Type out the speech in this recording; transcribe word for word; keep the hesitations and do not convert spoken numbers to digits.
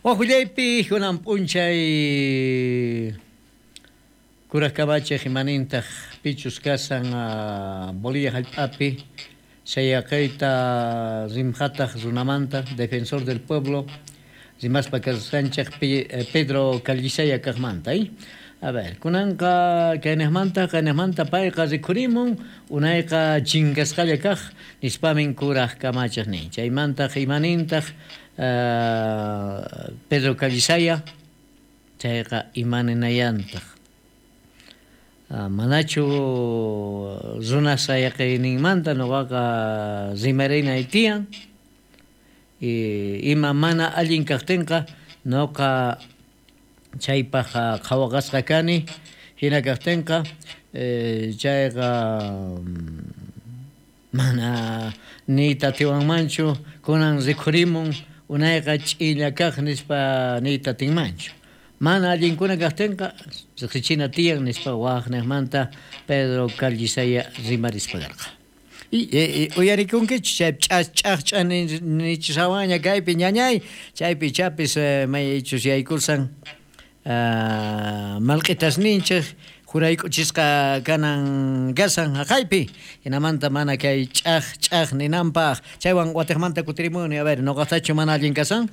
Wajullaypi kunan p'unchay kuraj kamachej imanintaq pichus kasan Bolivia jallp'api sayaqayta rimjataq runamanta defensor del pueblo rimaspa kasqanchej Pedro Callisaya kaqmanta. A ver, kunanqa kaynejmanta kaynejmanta payqa rikhurimun unayqa chinkasqalla kaq nispamin kuraj kamachej nin. Chaymantaq imanintaq Pedro Callisaya chayqa imaninayantaq. Manachu runa sayaqayninmanta nuqaqa rimarinay tiyan ima mana allin kaqtinqa nuqa chaypaq qhawaqasqa kani hina kaqtinqa chayqa mana niyta atiwanmanchu kunan rikhurimun unayqa ch'illa kaq nispa niyta atinmanchu. Mana allinkuna kaqtinqa riqsichina tiyan nispa waqnejmanta Pedro Callisaya rimarispa karqa. Uyarikunkichu chay ch'aq ch'aq nichishawanña kaypi ñañay chaypi chapis maychus yaykursan malq'itasninchej jurayk'uchisqa kanan kasan haqaypi hinamanta mana kay ch'aq ch'aq ninanpaq chaywan watiqmanta kutirimuni. A ver, nuqaqtachu mana allin kasan?